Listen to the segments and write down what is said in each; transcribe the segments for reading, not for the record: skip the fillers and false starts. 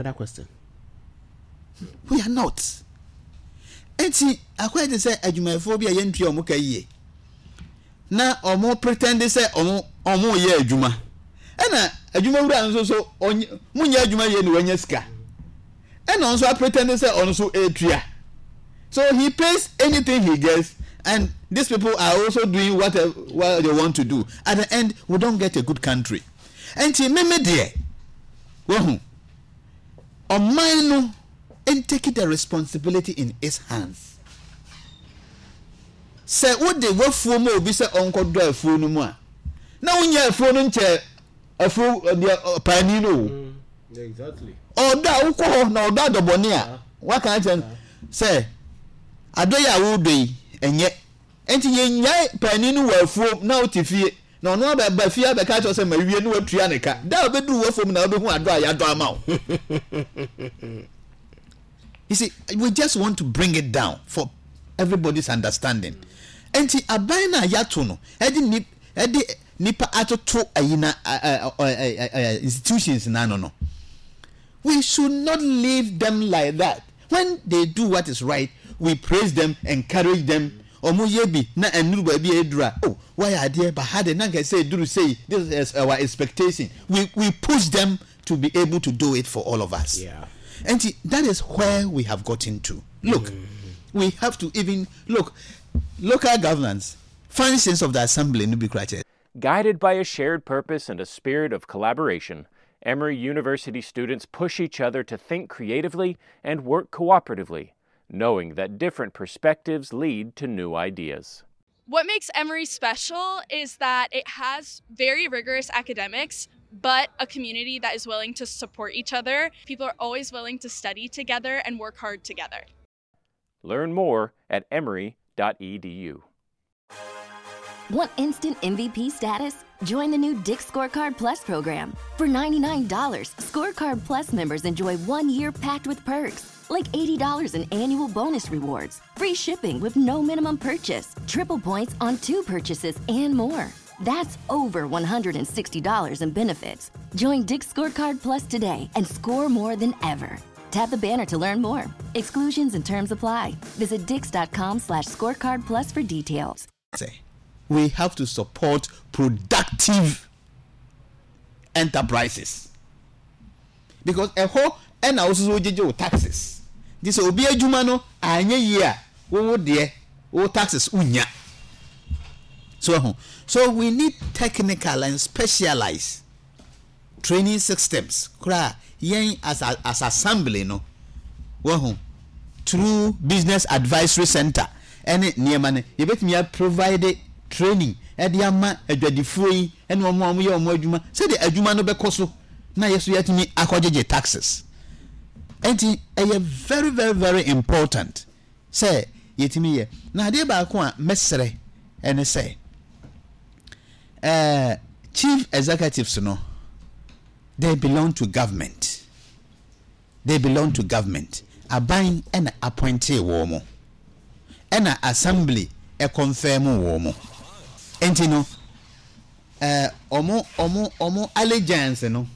Other question. We are not. Enti akɔyɛ te sɛ adwumayɛfoɔ bi a yɛntua wɔn ka yie na wɔn pretend sɛ wɔn wɔn yɛ adwuma ɛna adwumawura no nso so ɔnyɛ mo nyɛ adwuma yie na wanya sika ɛna ɔno nso apretend sɛ ɔno nso ɛretua so he pays anything he gets and these people are also doing what, what they want to do at the end we don't get a good country nti meme deɛ wahu ɔman no take the responsibility in its hands sɛ wode wafuo ma obi sɛ ɔnkɔdɔ afuo no mu a na wonyɛ afuo no nkyɛ afuo deɛ paani no o mm, ɔdɔ a wokɔ hɔ na ɔdɔ adɔbɔne a waka akyerɛ no sɛ adɔ yi a wodɔ yi ɛnyɛ nti yɛnyae paani no wɔ afuom na wote fie na ɔno abɛba fie abɛka akyerɛ sɛ mawie ne watua ne ka da a wobɛduru w'afuom na wobɛhu adɔ a yɛadɔ ama wo. You see, we just want to bring it down for everybody's understanding. Nti aban no a yɛato no ɛde ni ɛde nipa atoto ayi na institutions n'ano no we should not leave them like that when they do what is right we praise them encourage them wɔn yɛ bi na ɛnuru baabi a eduru a oh wayɛ adeɛ ba ha de na nka sɛ eduru sei this is our expectation we we push them to be able to do it for all of us yeah. and that is where we have gotten to look mm. we have to even look local governance functions of the assembly no bi kura kyerɛ. Guided by a shared purpose and a spirit of collaboration, Emory University students push each other to think creatively and work cooperatively, knowing that different perspectives lead to new ideas. What makes Emory special is that it has very rigorous academics, but a community that is willing to support each other. People are always willing to study together and work hard together. Learn more at emory.edu. Want instant MVP status? Join the new Dick's Scorecard Plus program. For $99, Scorecard Plus members enjoy one year packed with perks, like $80 in annual bonus rewards, free shipping with no minimum purchase, triple points on two purchases, and more. That's over $160 in benefits. Join Dick's Scorecard Plus today and score more than ever. Tap the banner to learn more. Exclusions and terms apply. Visit dix.com slash scorecard plus for details. We have to support productive enterprises because ɛhɔ ɛna wososo wogyegye wo taxes nti sɛ obi adwuma no anyɛ yie a wowo deɛ wo taxes wonya so ɛho so we need technical and specialized training systems koraa yɛn as as assembly no wahu through business advisory center ɛne nneɛma no yɛbɛtumi a provide training ɛde ama adwadifoɔ yi ɛne wɔn a wɔyɛ wɔn adwuma sɛdeɛ adwuma no bɛkɔ so na yɛ so yɛatumi akɔgyegye taxes ɛnti ɛyɛ very very very important sɛ yɛtumi yɛ na adeɛ baako a mɛsrɛ ɛne sɛ Eh, chief executives no, they belong to government. They belong to government. Aban ɛna appointee wɔn mo. Ɛna assembly ɛconfirm wɔn mo. Enti no, eh, ɔmo, ɔmo, ɔmo allegiance no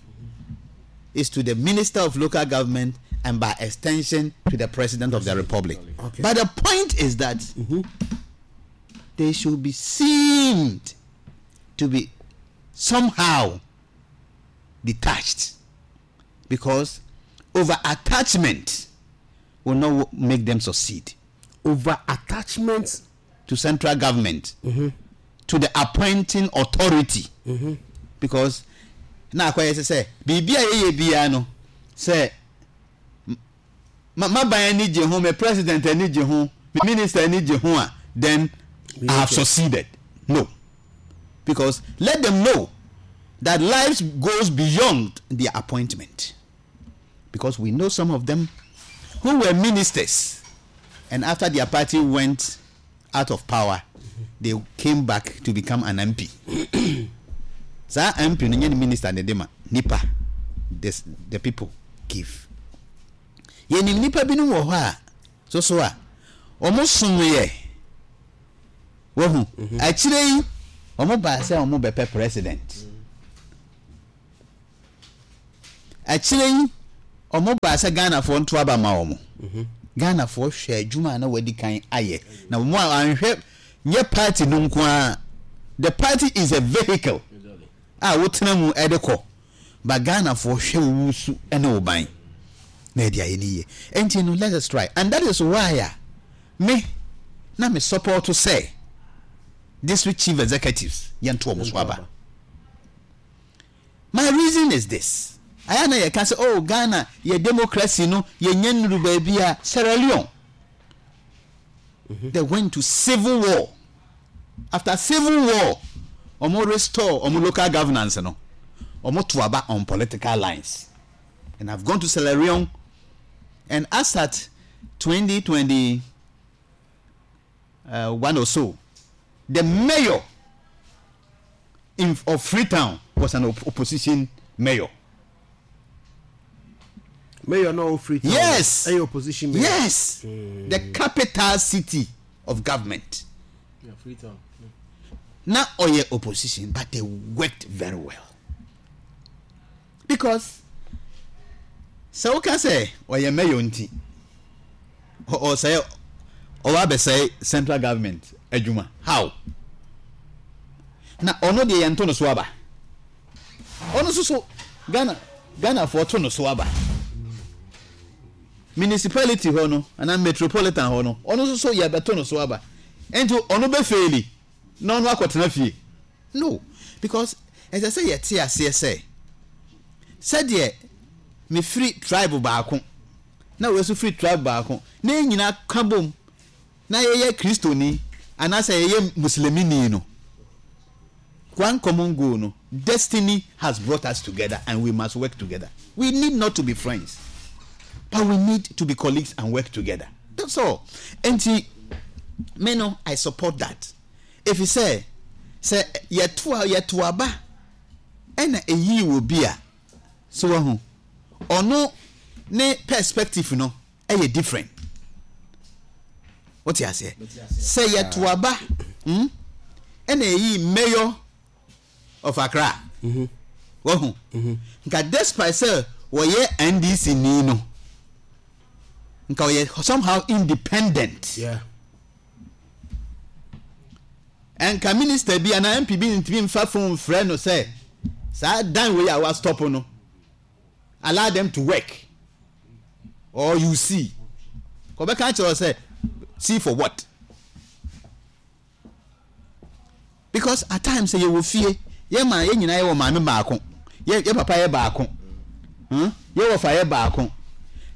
is to the minister of local government and by extension to the president of the republic. Okay. But the point is that mm -hmm. they should be seen to be somehow detached because over attachment will not make them succeed. Over attachment to central government, mm -hmm. to the appointing authority. Mm -hmm. Because na akɔyɛ sɛ sɛ biribi a yɛyɛ biara no sɛ m'aban ani gye ho, me president ani gye ho, me minister ani gye ho a, then I have succeeded. No. Because let them know that life goes beyond their appointment. Because we know some of them who were ministers and after their party went out of power, they came back to become an MP. Saa MP no nyɛ ne minister na ɛde ma nipa, the, the people give. Yɛnim nipa binom wɔ hɔ a so so a wɔn somyɛ wahu mhm. akyire yi wɔn baa sɛ wɔn bɛpɛ president. Akyire yi. Ɔmo baa sɛ Ghanafoɔ nto aba ma wɔn. Ghanafoɔ hwɛ adwuma a na wadi kan ayɛ. Na wɔn a anhwɛ nyɛ party no nko ara. The party is a vehicle a wotena mu de kɔ. But Ghanafoɔ hwɛ wo su ne wo ban na yɛde ayɛ no yie. Enti no let us try. And that is why a me na me support sɛ district chief executives yɛnto wɔn so aba. My reason is this, ayɛ a na yɛka sɛ oh Ghana yɛ democracy no yɛnya nnuru baabi a, Sierra Leone they went to civil war, after civil war wɔn restore wɔn local governance no, wɔn to aba on political lines. And I've gone to Sierra Leone and as at 2021 or so, the mayor in, of Freetown was an op opposition mayor. Mayor no Freetown. Yes. Any opposition mayor. Yes. The capital city of government. Yeah, Freetown. Now, oh opposition, but they worked very well. Because sɛ woka sɛ ɔyɛ mayor nti ɔsɛe ɔba abɛsɛe central government adwuma how? Na ɔno deɛ yɛnto no so aba. Ɔno nso so Ghana Ghanafoɔ to no so aba. Municipality hɔ no anaa metropolitan hɔ no ɔno nso so yɛbɛto no so aba. Nti ɔno bɛfeeli na ɔno akɔtena fie. No, because ɛsɛ sɛ yɛte aseɛ sɛ, sɛdeɛ mefiri tribe baako na wei nso firi tribe baako na yɛn nyinaa ka bom na yɛyɛ Kristoni anaasɛ yɛyɛ Muslimini no, one common goal no, destiny has brought us together and we must work together. We need not to be friends, but we need to be colleagues and work together. That's all. Enti, me no, I support that. Efisɛ sɛ yɛto a yɛto aba na eyii obi a, so wahu? Ɔno ne perspective no yɛ different. Wote aseɛ? Sɛ yɛto aba hmm, ɛna eyii mayor of Accra, wahu? Nka despite sɛ wɔyɛ NDC ni no, nka ɔyɛ somehow independent. Yeah. Nka minister bi anaa MP bi ntumi mfa phone mfrɛ no sɛ saa dan wei a wa stop no allow them to work or you see kɔbɛka akyerɛ sɛ see for what because at times sɛ yɛwɔ fie yɛ ma yɛ nyinaa yɛwɔ maame baako yɛ yɛ papa yɛ baako hmm? yɛ wɔfa yɛ baako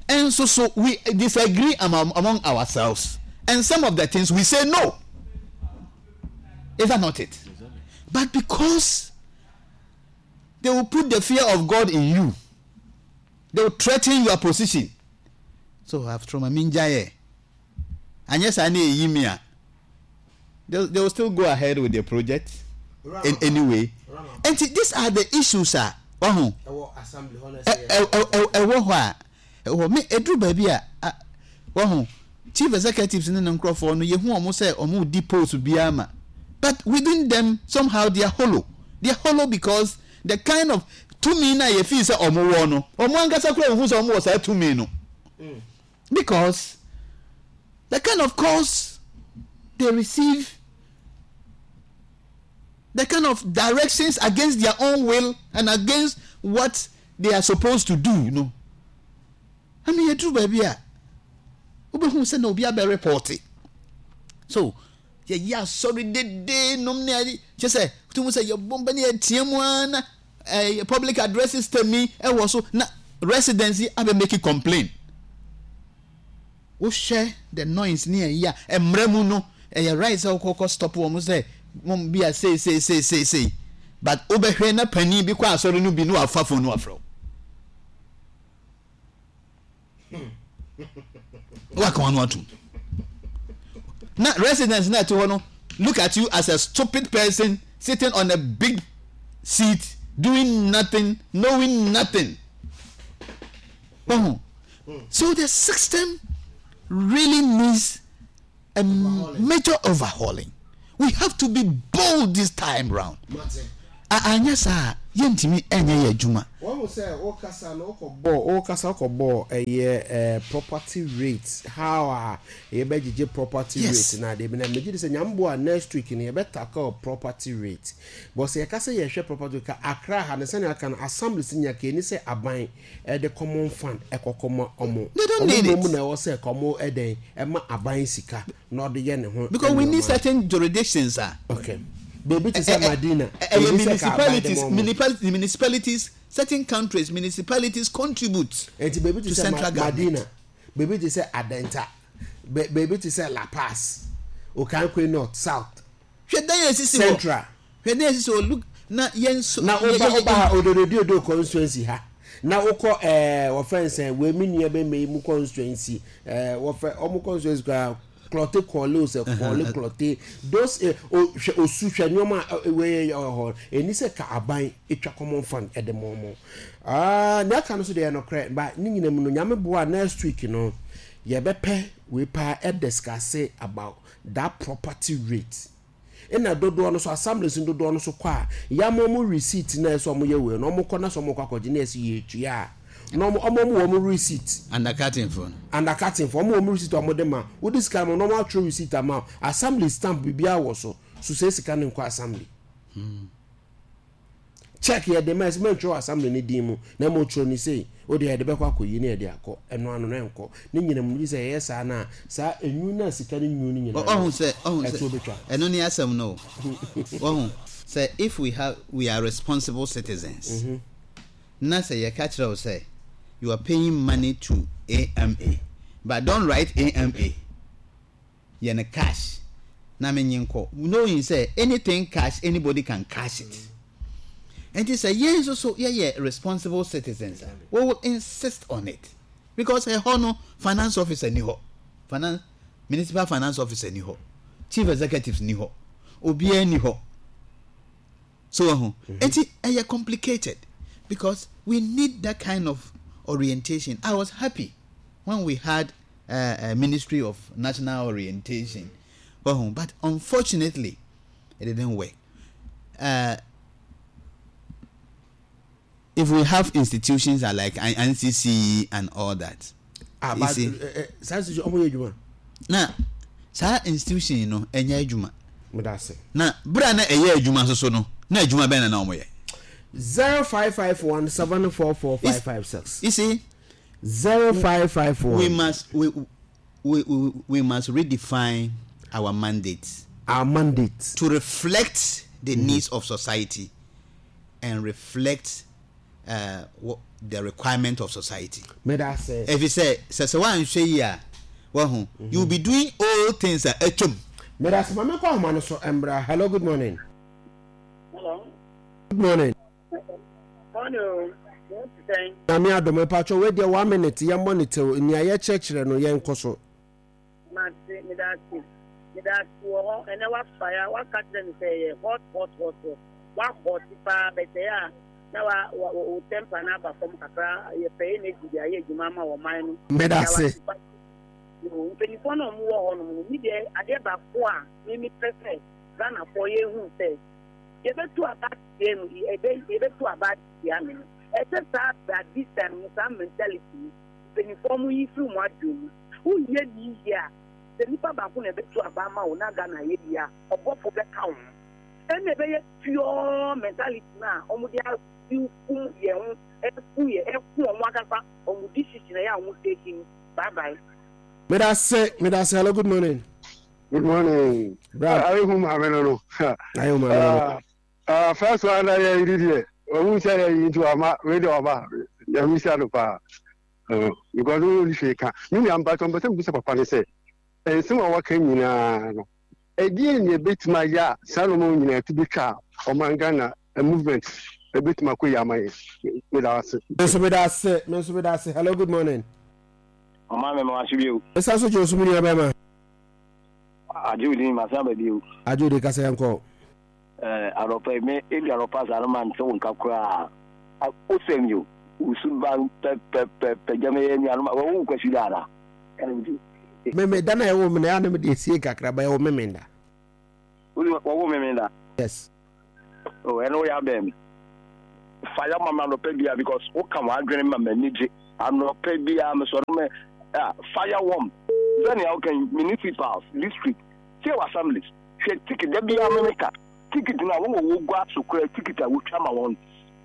ɛnso so we disagree among, among ourselves and some of the things we say no is that not it but because they will put the fear of God in you they will threaten your position so after my mingyae anyɛ saa na eyi mi a they they will still go ahead with their project in anyway nti these are the issues a wahu ɛwɔ hɔ a ɛwɔ me eduru baabi a wahu chief executives ne ne nkurɔfoɔ no yehu wɔn sɛ wɔn di post biara ma but within them somehow they are hollow they are hollow because the kind of tumi na yɛ fi sɛ wɔn wɔ no wɔn ankasa kura wɔn ho sɛ wɔn wɔ saa tumi no. Mm. Because the kind of calls they receive, the kind of directions against their own will and against what they are supposed to do no. I mean, yɛduru baabi a wobɛhu sɛ na obi abɛ report. So, yɛyɛ asɔre dede nom ne ade kyɛ sɛ wotum sɛ yɛbɔ mpa ne yɛteɛ mu ara na eh, public address system yi ɛwɔ so na residents yi abɛ make complain wohwɛ the noise ne ɛyi a mmerɛ mu no ɛyɛ right sɛ wokɔkɔ stop wɔn sɛ mo bi a sei sei sei sei sei but wobɛhwɛ na panin bi kɔ asɔre no bi na wafa phone no afrɛ wo waka wɔn atum na residents na ɛte hɔ no look at you as a stupid person sitting on a big seat doing nothing knowing nothing oh. so the system really needs a major overhauling we have to be bold this time round anyɛ saa. Yɛntumi nyɛ yɛn adwuma. Wahu sɛ wo kasa no wokɔ bɔɔ wo kasa wokɔ bɔɔ ɛyɛ eh property rate how a yɛbɛ gyegye property rate na adeɛ bi na megye di sɛ Nyame boa a next week no yɛbɛ tackle property rate but sɛ yɛka sɛ yɛhwɛ property rate ka Accra ha no sɛnea aka no assemblies nya ka ɛni sɛ aban ɛde common fund ɛkɔ kɔma ɔmo They don't ɔmo need mmom it. na ɛwɔ sɛ ka ɔmo ɛdɛn ɛma aban sika na ɔde yɛ ne ho Because we need nneɛma. certain jurisdictions a. Okay. Baabi te sɛ Madina, Ɛyɛ baabi sɛ ka aban de municipalities, ma ɔmo. municipalities, municipalities, certain countries municipalities contribute Enti baabi te to sɛ Ma central government. Madina, baabi te sɛ Adenta, ba baabi te sɛ La Paz, Okankwe North, South, Hwɛ dan a esisi hɔ. Central. Hwɛ dan a esisi hɔ. Look na yɛn nso. Na yɛ- woba yɛ- woba ha yɛ- Odododiodo constituency ha na wokɔ ɛɛ wɔfrɛ no sɛn wei me nua bɛma yi mu constituency ɛɛ wɔfrɛ ɔmo constituency koraa Klɔte kɔɔle o sɛ kɔɔle klɔte those eh, o hwɛ osu hwɛ nneɛma a wei yɛ wɔ hɔ ɛni sɛ ka aban etwa common fund ɛde ma ɔmo aa nea aka no so deɛ ɛnokorɛ ba ne nyina mu no nyame boa next week no yɛbɛpɛ wei paa ɛdiscuss about that property rate Nna dodoɔ no so assemblies no dodoɔ no so kɔ a yɛama ɔmo receipt na ɛsɛ ɔmo yɛ wei no ɔmo kɔ na sɛ ɔmo kɔ akɔgye na yɛsɛ yɛtua a na ɔmo ɔmo ɔmo wɔ ɔmo receipt. Undercutting foɔ no. Undercutting foɔ ɔmo wɔ ɔmo receipt a ɔmo de ma wode sika no ma na ɔmo atwerɛ receipt ama wo assembly stamp biribiara wɔ so so sɛ sika no nkɔ assembly. Check yɛde ma ɛsɛ mɛntwerɛ wɔ assembly no din mu na mmom twerɛ no sei wo deɛ yɛde bɛkɔ akɔyi na yɛde akɔ ɛno ano no ɛnkɔ ne nyina mu gye sɛ yɛyɛ saa no a saa enyu no a sika no nyu no nyinaa Ɔhu sɛ ɔhu sɛ ɛtoɔ bɛtwa. Ɛno ne asɛm no o wahu sɛ if we have we are responsible citizens na sɛ yɛka kyerɛ wo sɛ you are paying money to AMA but don't write AMA yɛ no cash na me nye nkɔ knowing sɛ anything cash anybody can cash it nti sɛ yɛn nso so yɛyɛ responsible citizens a we will insist on it because ɛhɔ no finance officer ni hɔ finance municipal finance officer ni hɔ chief executives ni hɔ obiara ni hɔ so ɛho nti ɛyɛ complicated because we need that kind of orientation I was happy when we had Ministry of National Orientation. Wahu, but unfortunately, it didn't work. If we have institutions that like NCC and all that. Ah, but see, saa institution ɔmo yɛ adwuma. Na saa institution no ɛnyɛ adwuma. Medase. Na bere a na ɛyɛ adwuma nso so no, na adwuma bɛn na na wɔn yɛ. 0551744556. You see, 0551. We must we, we, we, we must redefine our mandate. Our mandate. To reflect the mm-hmm. needs of society and reflect uh, what the requirement of society. Medase. If you say, sɛ sɛ woanhwɛ yi a, wahu, mm-hmm. you will be doing all things a atwam. Medase, maame kɔ ahoma no so mbra. Hello, good morning. Hello. Good morning. Morning o, wo ho te sɛn? Nyame adom, mpakyɛw wei deɛ one minute yɛn mmɔ ne tew, nea yɛkyerɛkyerɛ no yɛn kɔ so. Mate, medase, medase wɔ hɔ, ɛnɛ wafa ya, waka kyerɛ me sɛ ɛyɛ hot hot hot hot, wa hot paa, but ɛyɛ a na wa wa wo temper no aba fam kakra, yɛpɛ energy de ayɛ adwuma ama ɔman no. Medase. Mpanyinfoɔ no a wɔwɔ hɔ nom no, me deɛ adeɛ baako a me mepɛ sɛ Ghanafoɔ yɛhu sɛ yɛbɛtu aba atia mu, yɛbɛ yɛbɛtu aba atia me no, ɛsɛ saa tradition no, saa mentality no, mpanyinfoɔ mo yi firi mo adwene mu. Woyɛ ne yie a, sɛ nipa baako na ɛbɛtu aba ama wo na Ghana ayɛ yie a, ɔbɔfo bɛka wo ho. Ɛna ɛbɛyɛ pure mentality no a wɔde akum yɛn ho, ɛku yɛ, ɛku wɔn ankasa wɔn decision ɛyɛ a wɔn take no. Bye bye. Medase, medase. Hello, good morning. Good morning. Bra. Ayi hu maame no no. Ayi hu maame no. Ah, ah, first one na yɛ yi deɛ. Ohun sɛ yɛ yi nti wama wei deɛ ɔba. Yɛ mi si ano paa. Because wo ni hwee ka. Mi nua mpatsɔ mpɛ sɛ mbisa papa ne sɛ nsɛm a waka nyinaa no ɛdeɛ ne ebetumi ayɛ a saa nneɛma nyinaa ti betwa a ɔman Ghana movement ebetumi akɔ yi ama yɛ. Meda ase. Me nso meda ase. Me nso meda ase. Hello, good morning. Ɔma me ma wase bio. Ɛsa so gye wo so me nua bɛrima. Agye wo din masan aba bio. Agye wo din kasa yɛn kɔ. Ɛɛ anɔpa yi me ebi anɔpa saa no ma nte wo nka koraa. Wosɛm yi o wo suban pɛpɛpɛpɛ gya me yɛ nuanom a wɔwo wo kwasi da ana? Ɛna me ti. Me me da na ɛwɔ me na ɛyɛ na me de esie kakra ba ɛwɔ me me da. Wɔwo me me da? Yes. Oh ɛno woyɛ abɛn me. Fire ma me anɔpa biara because woka w'adwene ma m'ani gye. Anɔpa biara mesɔre me ah, fire wɔm. Sɛnea woka yi, municipals, district, sɛ yɛwɔ assemblies, hwɛ ticket, da biara me meka, ticket no a wɔwɔ wɔ gua so koraa ticket a wotwa ma wɔn.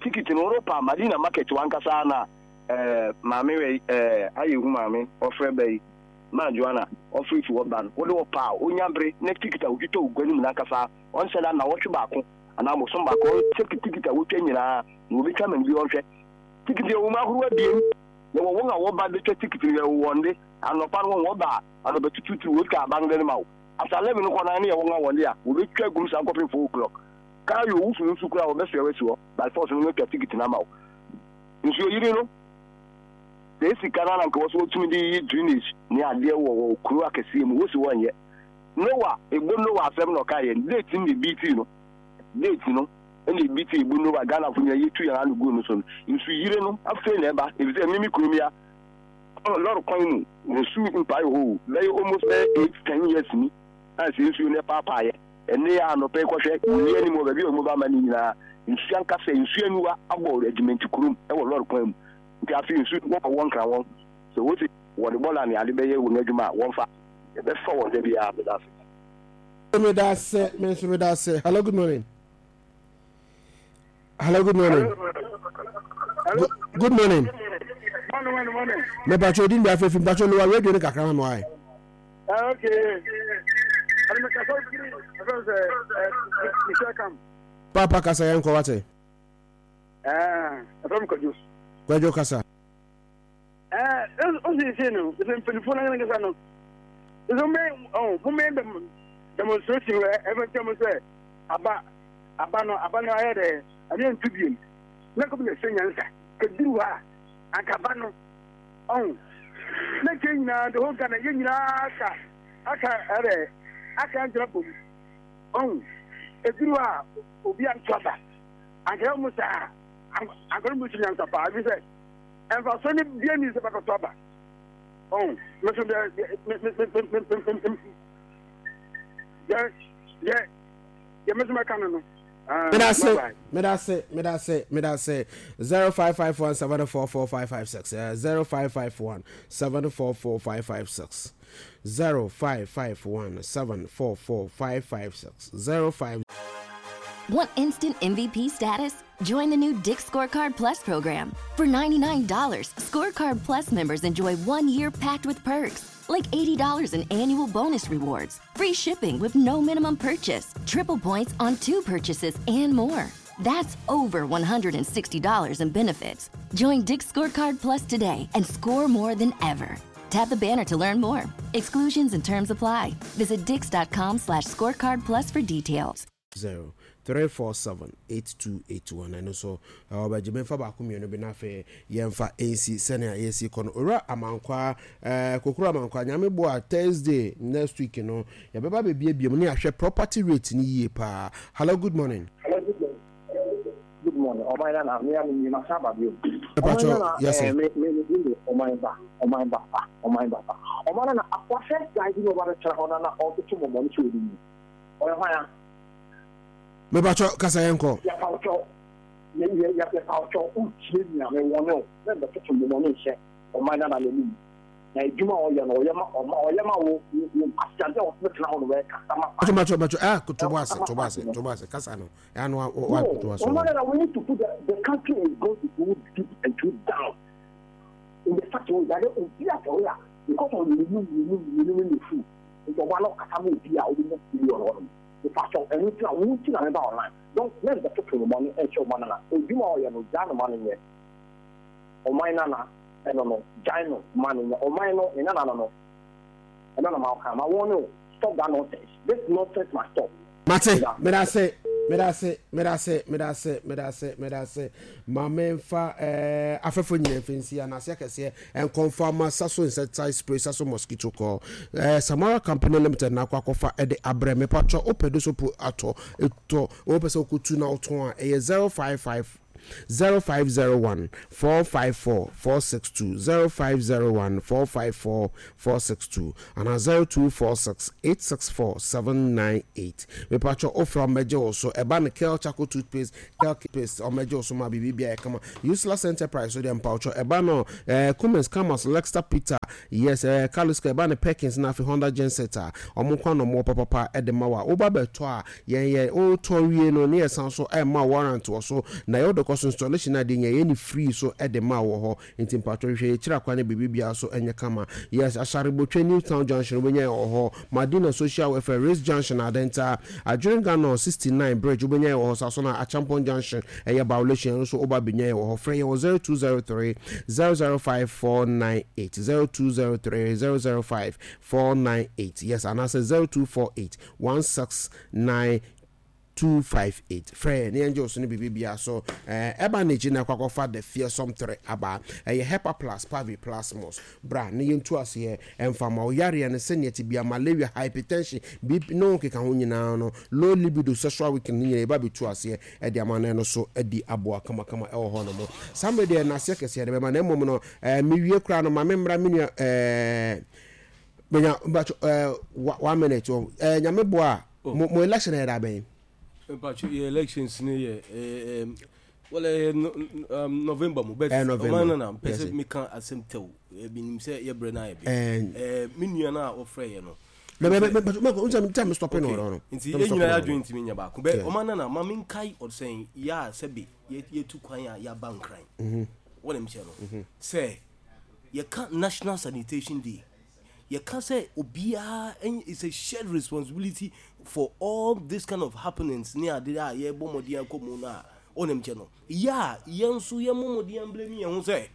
Ticket no worepa Madina market wankasa na eh, maame wei eh, ayɛ hu maame, ɔfrɛ ba yi, maa Joanna, ɔfrɛ fi hɔ ba no, wode wɔpa a, onya bere na ticket a wotwitwa wɔ gua no mu no ankasa, ɔnhyɛ da nnawɔtwe baako anaa bosom baako, ɔnkyɛ ticket a wotwa nyinaa na wɔbɛtwa ma no bi ɔnhwɛ. Tikiti yɛwɔ mu ahorow abien. Yɛwɔ wɔn a wɔba betwa tikiti no, yɛwɔ wɔn de. Anɔpa no wɔn wɔba a, anɔpatutuutu wotwa aban de no ma wo. After 11 kɔ no ne yɛ wɔn a wɔn de a, wɔbetwa agum saa kɔpem 4 o'clock. Kaa yɛ owu fi nsu koraa wɔbɛsoɛ wo asi hɔ by force no wɔatwa tikiti no ama wo. Nsuo yiri no, sɛ sika no ara na nka wɔso wɔtumi de yiyi drainage ne adeɛ wɔ wɔ kuro akɛseɛ mu, wosi wɔnyɛ. Noah, ebo Noah asɛm na ɔkaeɛ no, date no na ebi tii no. Date no. Ɛna ebi te ebu no a Ghanafo nyinaa yɛtu yɛn ano gu no so no, nsu yire no afei na ɛba efisɛ me me kurom ya lɔre kwan mu nsu mpae hɔ o bɛyɛ almost bɛyɛ 8, 10 years ni a sɛ nsuo no ɛpaapaeɛ ɛnne yɛ anɔpɛ yi kɔhwɛ wuli anim wɔ baabi a wɔn ba ama ne nyinaa nsuo ankasa nsuo aniwa abɔ adwumanti kurom ɛwɔ lɔre kwan mu nti afei nsuo wɔn wɔn nkra wɔn sɛ wɔsi wɔde bɔla ne ade bɛyɛ wɔn adwuma a wɔmfa ɛbɛfa wɔn da biara meda ase. Meda ase, me nso meda ase. Hello, good morning. Hello, good morning. Hello. Good, good morning. Morning, morning, morning. Me pacho din bi afefi pacho lower radio ne kakra ma me why. Ah, okay. Ani me kasa firi afɛn sɛ eh Michel Kam. Papa kasa yɛn kɔ wate. Eh, afɛn kwadwo. Kwadwo kasa. Ɛɛ, osiesie no, sɛ mpanyinfoɔ no ankasa no, sɛ mo ɔn mo mɛ dɛm demonstration wɔ ɛfɛ nkyɛn mo sɛ aba aba no aba no ayɛ dɛ ɛne ntu biem na kɔbi na ɛsɛ nyansa kɛduru hɔ a anka aba no ɔn na nkyɛn nyinaa the whole Ghana yɛ nyinaa aka aka ɛdɛ aka ngyina bom ɔn ɛduru hɔ a obi anto aba anka yɛ mo saa anka no mo si nyansa paa ebi sɛ Mfasoɔ no bia ni sɛ bɛkɔtɔ aba. Ɔn, me so deɛ, me, me, me, me, me, me, me, deɛ, deɛ, deɛ me so mɛka no no. Medase, medase, medase, medase. 0551 744556. 0551 744556. 0551 744556. 05. Want instant MVP status? Join the new Dick's Scorecard Plus program. For $99, Scorecard Plus members enjoy one year packed with perks, like $80 in annual bonus rewards, free shipping with no minimum purchase, triple points on two purchases, and more. That's over $160 in benefits. Join Dick's Scorecard Plus today and score more than ever. Tap the banner to learn more. Exclusions and terms apply. Visit dix.com/scorecard plus for details. 0 3 4 7 8 2 8 1 ɛno nso ɔbɛgye memfa baako mmienu bi na afei yɛmfa nsi sɛnea yɛsi kɔ no owura amankwaa ɛɛ kokoro amankwaa nyame boa Thursday next week no yɛbɛba bɛbiebie mu ne ahwɛ property rate no yie paa hello good morning. Hello good morning. Good morning ɔman nana me a me nie masan aba bio. Ɔman nana ɛɛ me me me din de ɔman ba ɔman ba pa ɔman ba pa ɔman nana akwa first guy bi na ɔba bɛtena hɔ na na ɔtoto mɔmɔ no sɛ ɔnim no ɔyɛ hwan a. Mepakyɛw kasa yɛn kɔ. Yɛpawkyɛw yɛ yɛ yɛpawkyɛw wotie nea me wɔne wo na mbɛtoto mɔmɔ no nhyɛ ɔman nana n'anim na adwuma a ɔyɛ no ɔyɛ ma ɔma ɔyɛ ma wo wo nkwasiade a ɔtena hɔ no wɛkasa ma party. Bakyɛw bakyɛw ah to bo ase to bo ase to bo ase kasa no. No, no, no, we need to put the country is going to go deep and too down in the such way that obi asɔre a because of yɛnum yɛnum yɛnum ne fu nti ɔba na ɔkasa ma obi a ɔbɛnya billion hɔ nom nipa sɛ ɛno nti na wo nti na meba online donc na mbɛtoto no mɔne ɛnhyɛ ɔma nana odwuma a ɔyɛ no gyaa no ma no nyɛ ɔman nana ɛno no gyae no ma no nyɛ ɔman no ne nana no no ɛno na ma ɔka ma wɔn no stop that nonsense this nonsense must stop. Mate, medase, medase, medase, medase, medase, medase. Ma memfa eh, afɛfo nyina mfa nsi anase akɛseɛ nkɔmfa ma Saso insecticide spray, Saso mosquito coil. Eh, Samara Company Limited na akɔ akɔfa ɛde abrɛ me patwɔ wopɛ do so po atɔ, etɔ, wopɛ sɛ wokɔtu na wotɔn a ɛyɛ 055. 0501 454 462, 0501 454 462 anaa 0246 864 798. Mepatwɔ wofrɛ a wɔbɛgye wo so. Ɛba no Kel Charcoal Toothpaste, Kel Paste, wɔbɛgye wo so ma biribi biara yɛ kama. Useless Enterprise so deɛ mpawkyɛw ɛba no eh, Cummins, Camus, Lexter Peter, yes eh, Carlosco, ɛba no Perkins na afei Honda Genset a, wɔn nko ara na wɔwɔ papapa de ma wo a woba bɛtɔ a Yɛn yɛ wo tɔ wie no ne yɛ san so ɛma wo warrant wɔ so na yɛ wo de kɔ so installation no adeɛ nyɛ yɛ ne free so de ma wo wɔ hɔ nti mpakyɛw hwehwɛ yɛ kyiri akwan na biribi biara so nyɛ kama yes Asharebotwe new town junction wo bɛnya yɛ wɔ hɔ Madina social welfare race junction Adenta Adwene Ganor 69 bridge wo bɛnya yɛ wɔ hɔ saa so na Acheampong junction ɛyɛ Bawlation ɛno nso wo ba bɛnya yɛ wɔ hɔ frɛ yɛn wɔ 0203 005 498 0203 005 498 yes anaasɛ 0248 169258 Frɛ yɛn na yɛngye wo so ne biribi biara so. Ɛba no akyi na kɔ akɔfa The Fearsome Three aba. Ɛyɛ Hepa Plus, Pavi Plus Mos. Bra na yɛntu aseɛ mfa ma wo yareɛ no sɛnea ɛte biara, malaria, hypertension, BP ne wo nkekaho nyinaa no, low libido, sexual weakness ne nyinaa yɛba abɛtu aseɛ de ama no ɛno so adi aboa kamakama ɛwɔ hɔ nom. Saa mmerɛ deɛ nnaseɛ kɛseɛ de bɛma na mmom no mewie koraa no ma memmra me nua Menya mpacho eh one minute oh eh nyame boa oh. Mo mo election yɛ da bɛn? Mpacho yɛ elections ne yɛ eh well eh no, um, November mu but eh, November. Ɔman no na mpɛ sɛ meka asɛm tɛw ebi nim sɛ yɛ brɛ na ayɛ bi. Eh me nua no a ɔfrɛ yɛ no. Mɛ mɛ mɛ mɛ mɛ nsɛm tell me stop no no. Nti yɛ nyinaa yɛ adwene ntumi nya baako bɛ ɔman no na ma menkae ɔsɛn yɛ a sɛbe yɛtu kwan a yɛaba nkran. Mhm. Wɔn kyɛ no sɛ Yɛka National Sanitation Day, yɛka sɛ obiara it's a shared responsibility for all this kind of happenings ne ade a yɛbɔ mmɔden akɔ mu no a ɔnim kyɛ no. Yɛ a yɛn nso yɛmmɔ mmɔden amblame yɛn ho sɛ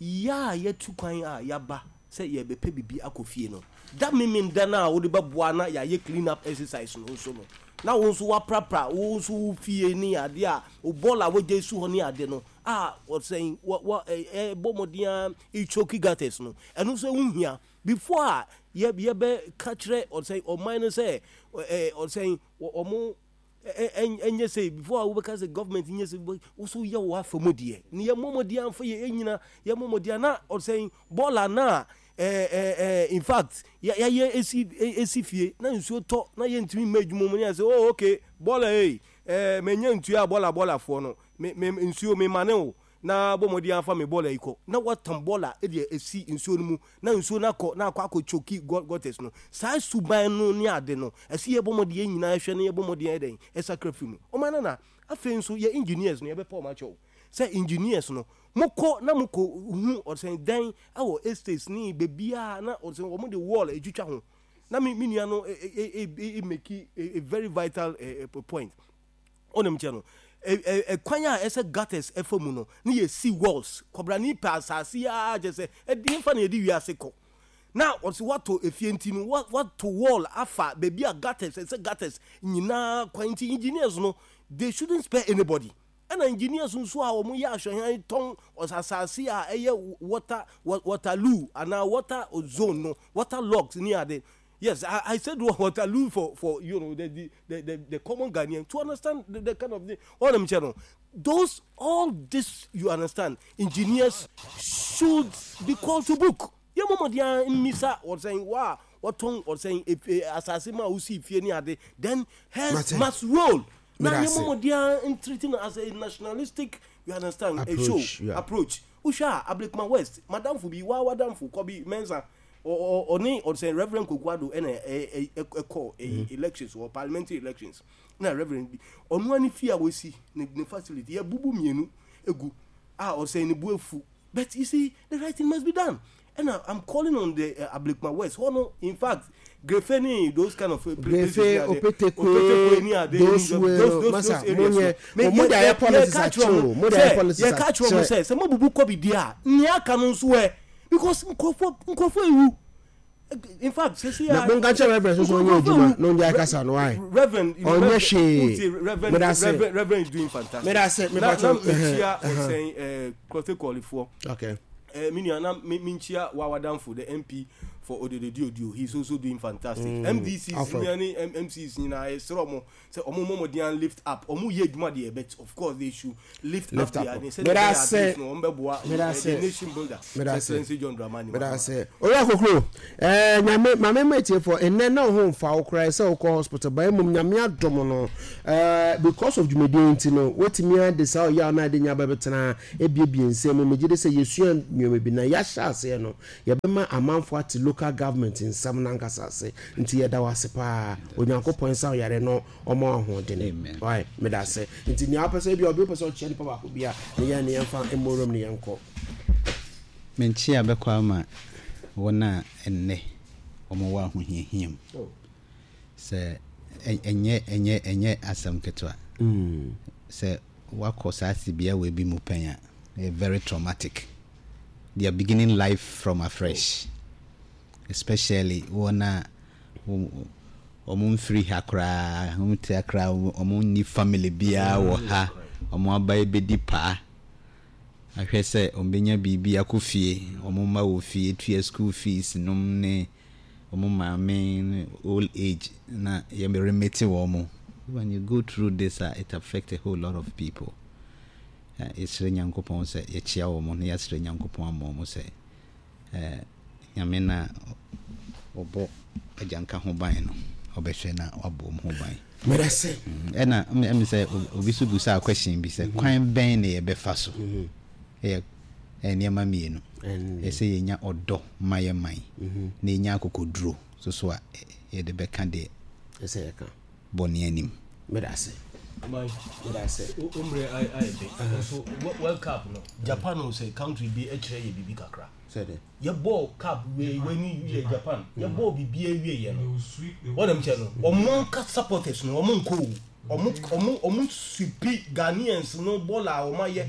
yɛ a yɛatu kwan a yɛaba sɛ yɛrebɛpɛ biribi akɔ fie no, da Memenda no a wode bɛboa na yɛayɛ clean up exercise no nso no, na wo nso woaprapra wo nso wo fie ne ade a wo bɔɔl a woagya asi hɔ ne ade no, a ɔsɛn wɔ wɔ ɛ bɔ mmɔden ara choke gutters no ɛno nso ɛho hia before a yɛ yɛbɛ ka kyerɛ ɔsɛn ɔman no sɛ ɛ ɔsɛn wɔn ɛnyɛ sɛ before a wobɛka sɛ government nyɛ sɛ woso yɛ wɔ afa mu deɛ ne yɛ mmɔ mmɔden amfa yɛ ɛnyina yɛ mmɔ mmɔden na ɔsɛn bɔɔla na ɛɛ ɛɛ in fact yɛayɛ esi esi fie na nsuo tɔ na yɛntumi mma adwuma mu ne yɛ sɛ oh okay bɔɔla ei ɛɛ manya ntua bɔɔla bɔɔlafoɔ no Me, me, nsuo, me mane wo, na bɔ mmɔden ara fa me bɔɔla yi kɔ. Na watam bɔɔla de asi nsuo no mu, na nsuo no akɔ, na akɔ akɔ choki gutters no. Saa suban no ne ade no, ɛsɛ yɛbɔ mmɔden yɛn nyinaa hwɛ na yɛbɔ mmɔden ayɛ dɛn, ɛsakra firi mu. Ɔman no na, afei nso yɛ engineers no, yɛbɛpa wɔn akyɛw sɛ engineers no, mokɔ na mokɔ hu ɔsɛn dan wɔ estates ne baabiara na ɔsɛn wɔn de wall atwitwa ho. Na me, me nua no e, e, e, e make a, a very vital eh, point. Wonim kyɛ no, ɛkwan a ɛsɛ gutters ɛfa mu no, ne yɛ si walls. Kɔbrani pɛ asase yi ara kyɛ sɛ ɛde nfa na yɛde wiase kɔ. Na ɔsi wato efie nti no, wato wall afa baabi a gutters ɛsɛ gutters nyinaa kwan nti engineers no they shouldn't spare anybody. Ɛna engineers nso a wɔn yɛ ahwɛhan tɔn asase a ɛyɛ water waterloo anaa water zone no water logs ne ade. Yes, I, I said Waterloo for, for you know, the, the, the, the, the common Ghanaian to understand the, the kind of thing. All I'm saying, those, all this, you understand, engineers should be called to book. yɛ mɔmɔden ara mmisa ɔsɛn wa wɔtɔn ɔsɛn asase ma wosi fie ne ade then heads must roll na yɛ mɔmɔden ara ntiriti no as a nationalistic you understand approach, a show yeah. approach wohwɛ a Ablekuma West madamfo bi waa wadamfo Kɔbi Mensah ɔne ɔsɛ Reverend Kwaku Addo ɛna ɛkɔ mm. elections wɔ parliamentary elections na Reverend bi ɔno ani fie a wɔsi ne ne facility yɛ bubu mmienu egu a ɔsɛ ne bu efu but you see the right thing must be done ɛna I'm calling on the uh, Ablekuma West hɔ no in fact Grefe ni those kind of Grefe Opetekwe those those those areas no mo de ayɛ policies akyɛ o mo de ayɛ policies akyɛ yɛ ka kyerɛ mo sɛ sɛ mo bubu kɔ bi di a nea aka no nso ɛ because nkurɔfoɔ nkurɔfoɔ ewu in fact sisi a na mo nka kyerɛ reverend soso ɔnyɛ adwuma na ɔnyɛ akasa no ayi reverend ɔnyɛ hwee reverend reverend reverend is doing fantastic meda se meba na na mekyia ɔsɛn ɛɛ kɔte kɔlifoɔ okay ɛɛ mi nua na mi mi nkyia wawadanfo the mp. for Odododiodio, he is also doing fantastic. MDCs Alfred. nyinaa ne MCs nyinaa yɛsrɛ ɔmo sɛ ɔmo mmɔ mmɔden an lift up. Ɔmo yɛ adwuma deɛ but of course they should lift, Lift up up. their sɛdeɛ Meda ɛbɛyɛ at ase. least no ɔmo bɛboa Meda eh, ase. the nation builder. Meda ase. Excellency John Dramani Meda Mahama. ase. Owura Kokro, eh, nyame maame ma etiefoɔ nnɛ na wo ho mfa wo koraa sɛ wokɔ hospital ba mmom nyame adom no eh, because of dwumadie nti no wotumi ade saa ɔyaw no ade nya bɛbɛtena ebiebie nsɛm mu. Megye de sɛ yɛsua nneɛma bi na yɛahyɛ aseɛ no yɛbɛma amanfoɔ ate local government nsɛm no ankasa ase. Nti yɛda wo ase paa. Onyankopɔn nsa wo yare no ɔma wo ahoɔdene. Wai, meda ase. Nti nea wopɛ sɛ ebi obi wopɛ sɛ ɔkyia nipa baako bi a ne yɛn ne yɛmfa mmɔ wuram ne yɛnkɔ. Me nkyea bɛkɔ ama wɔn a ɛnnɛ wɔwɔ ahohiahia mu. Sɛ ɛnyɛ ɛnyɛ ɛnyɛ asɛm ketewa. Sɛ woakɔ saa tebea wei bi mu pɛn a, ɛyɛ very traumatic. They are beginning life from afresh. Especially wɔn a wɔn mfiri ha koraa, wɔn te akra, wɔn nni family biara wɔ ha, wɔn aba abɛdi paa. Ahwɛ sɛ wɔbɛnya biribi akɔ fie, wɔn mma wɔ fie, tua school fees nom ne wɔn maame ne old age na yɛ remete wɔn. When you go through this a, it affect a whole lot of people. Yɛsrɛ Nyankopɔn sɛ yɛkyea wɔn na yɛasrɛ Nyankopɔn ama wɔn sɛ Nyame no a ɔbɔ agyanka ho ban no, ɔbɛhwɛ na wabɔ wɔn ho ban. Medase. Ɛna ɛmi sɛ obi so busaa question bi sɛ kwan bɛn na yɛbɛfa so? Ɛyɛ nneɛma mmienu. Ɛsɛ yɛnya ɔdɔ ma yɛ man na yɛnya akokoduro so so a yɛde bɛka deɛ ɛsɛ yɛka bɔne anim. Medase. Medase. O mmerɛ ayɛ bɛ. Nso World Cup no, Japan o sɛ country bi kyerɛ yɛ biribi kakra. Sɛ dɛ. Yɛbɔɔ cup wei wei ni yɛ Japan. Yɛbɔɔ biribi awie yɛ no. Wɔn kyɛ no, wɔn anka supporters no wɔn nkɔ o. Wɔn wɔn wɔn supi Ghanaians no bɔɔl a wɔn ayɛ.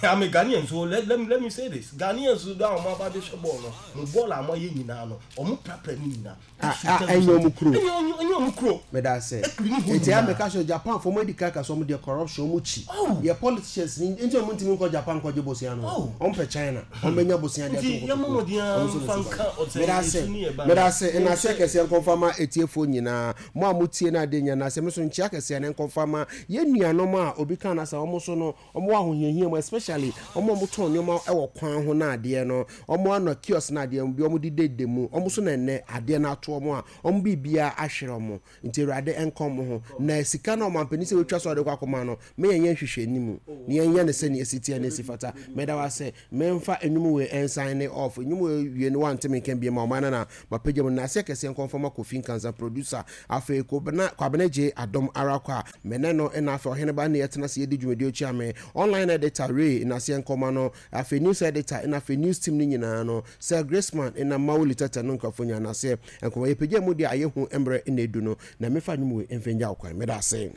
I'm a Ghanaian so let, let, me, let me say this. Ghanaians no a wɔn aba abɛhwɛ bɔɔl no, mo bɔɔl a wɔayɛ nyinaa no, wɔn prapra ne nyinaa. Ah, ah, ɛnyɛ wɔn kuro. Ɛnyɛ wɔn kuro. Meda ase. Eti a meka sɛ Japan fo wɔn adi kan ka sɛ wɔn deɛ corruption wɔn kyi. Yɛ politicians ni nti wɔn ntumi nkɔ Japan nkɔgye bosia no. Wɔn pɛ China. Wɔn bɛnya bosia de ato nkotokuo. Wɔn nso na suban. Meda ase. Meda ase. Nnaseɛ kɛseɛ nkɔmfa ma atiefoɔ nyinaa. Mo a motie no adeɛ nyinaa nnaseɛ. Me nso nkyea kɛseɛ no nkɔmfa ma yɛn nuanom a obi ka no asɛ wɔn nso no Wɔn wɔ ahohiahia mu especially wɔn a wɔtɔn nneɛma wɔ kwan ho na adeɛ no, wɔn ano kiosk na adeɛ bi wɔn de deda mu, wɔn so na ɛnɛ adeɛ no ato wɔn a wɔn biribiara ahwere wɔn. Nti Awurade nka wɔn ho. Na sika no a ɔmanpanin sɛ watwa so a ɔde kɔ akɔma no, ma yɛnyɛ nhwehwɛnimu na yɛnyɛ no sɛnea ɛsi teɛ na ɛsi fata. Meda wo ase. Memfa nnwom wei nsan ne off. Nnwom wei wie no wante me nka biom a ɔman no na mapagya mu. Nnaseɛ kɛseɛ nkɔmfa ma Kofi Nkansah producer. Afei Kobena Kwabena Gyei Adom ara kwa. Me ne no na afei Ɔheneba ne yɛtena ase yɛdi dwumadie ɔkyia me. Online editor Ray nnaseɛ nkɔma no. Afei news editor na afei news team no nyinaa no. Sir Graceman na Mawuli Tɛtɛ no nkurɔfoɔ nyinaa nnaseɛ nkɔma. Yɛpagya mu deɛ ayɛ hu mmerɛ na ɛdu no. Na memfa nnwom wei mfa ngya wo kwan. Meda ase.